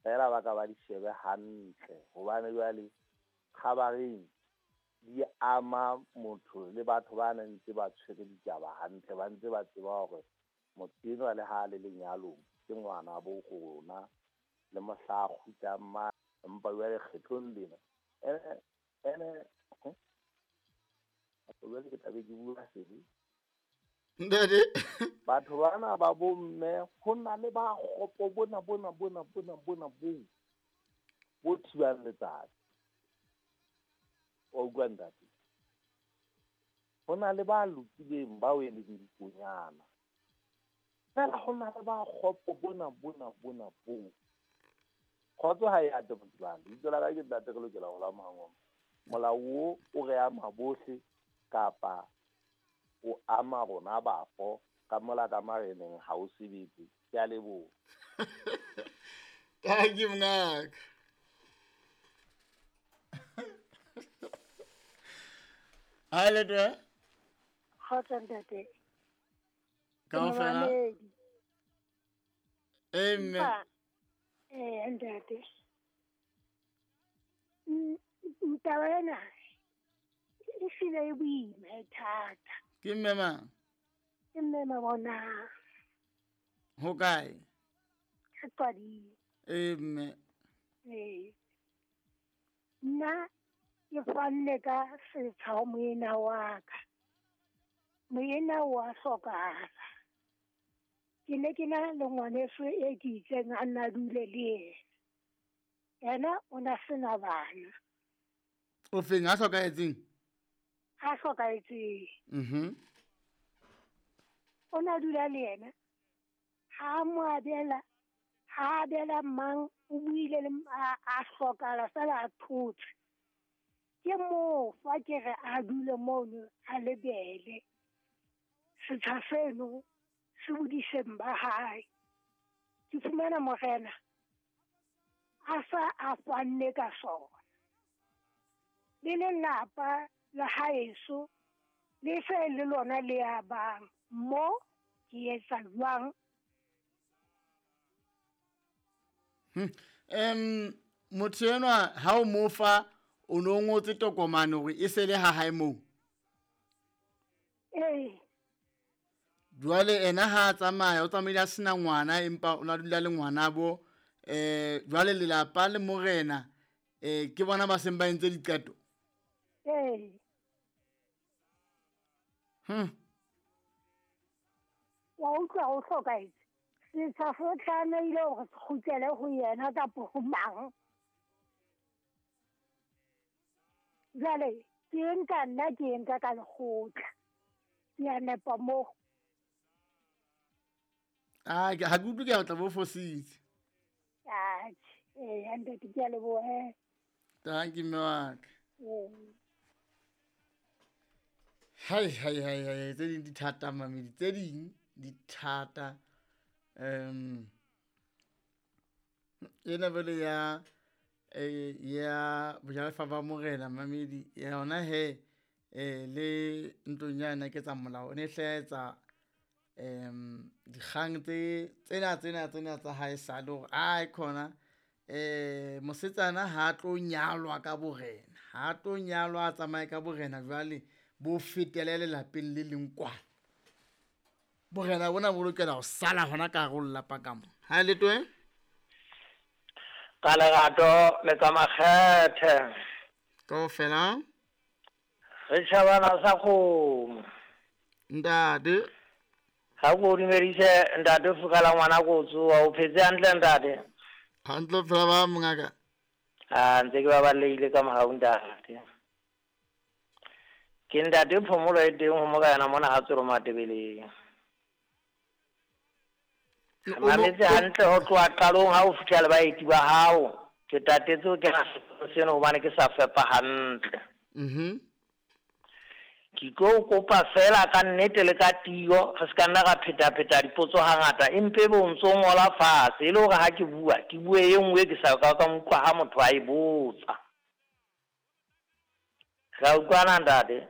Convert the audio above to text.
Fela ba ka ba di shebe hantle hobane jwale kgabareng di ama motho le batho ba neng ntse ba tshwere ditaba hantle, ba ntse ba tseba hore motho enwa le ha le lenyalong ke ngwana bo rona le mohla a kgutlang ma, empa jwale kgetlong lena ene jwale ke tlabe ke bua sebe. Ntate. Batho bana ba bomme ho na le ba kgopo bona bona bona bona bona bo bo thibang letsatsi. Wa utlwa ntate? Ho na le ba lokileng bao e leng dikonyana. Fela ho na le ba kgopo bona bona bona bo. Kgotso ha e ate motho. Lebitso la ka ke ntate re lokela ho la Mohangoma. Molao o o re ama bohle kapa o ama rona bafo ka mola ka mareneng ha o sebetse. Ke a leboha. Thank you mngaka. Hi Letoe. Kgotso ntate. Kaofela. Amen. Ntate. Taba ena e hlile e boima e thata. Ke mme mang? Ke mme Mabona. Ho kae? Ka Qading. Mme. Nna ke fanne ka setsha ho moena wa ka. Moena wa hlokahala. Ke ne ke na le ngwaneso e ke itseng a nna dule le yena. Yena o na sena bana. O feng a hlokahetseng? A hlokahetseng. Mhm. O na dula le yena. Ha mo abela, ha abela mang o buile le a hlokahala fela a thotse. Ke mo fa ke re a dule mono a lebele. Setsha seno se bodiseng ba hae. Ke fumana morena a sa a fanne ka sona. Le lelapa la haeso le se le lona le ya bang mo ke etsa jwang? Motho enwa ha o mo fa o no ngotse tokomane hore e se le ha hae moo. Ee. Jwale ena ha tsamaya o tsamaile a sena ngwana empa o na dula le ngwana bo jwale lelapa le morena ke bona ba seng ba entse diqeto. Ee. Wa utlwa ho hlokahetse. Setsha se tlamehile hore se kgutlele ho yena kapa ho mang. Jwale ke nka nna ke nka ka lekgotla. Ke a nepa moo. Ah, ha ke utlwe ke a tla bo fositse. Atjhe, ntate ke a leboha. Thank you mme wa ka. Hai hai hai hai, tse ding di thata mamedi, tse ding di thata. Ena bele ya ya bojalefa ba morena mamedi yona he le ntlong ya yona ke tsa molao ne hlaetsa dikgang tse tsena tsena tsena tsa hae sale hore ai khona mosetsana ha tlo nyalwa ka borena, ha tlo nyalwa a tsamaye ka borena jwale bo fetele lelapeng le leng kwana. Borena bona bo lokela ho sala hona ka hare ho lelapa ka mo. Ha Letoe? Ka lerato le ka makgethe. Kaofela. Re tjhabana sa kgomo. Ntate. Ha ko dumedise ntate fukala ngwana ko tsoa o phetse hantle ntate. Hantle fela ba mongaka. Ah ntse ke ba balehile ka mohau ntate. Ke ntate phomolo e teng ho morena mona ha tsoro Matebeleng. Mametse hantle ho tloha qalong ha o fihla le baeti ba hao. Ke tatetse ho kena seno hobane ke sa fepa hantle. Mhm. Ke tlo kopa fela ka nnete le ka tiyo re ska nna ra pheta-pheta dipotso hangata empe bo ntso ngola fatshe e le hore ha ke bua ke bue e nngwe ke sa ka ka utlwa ha motho a e botsa. Ra utlwana ntate?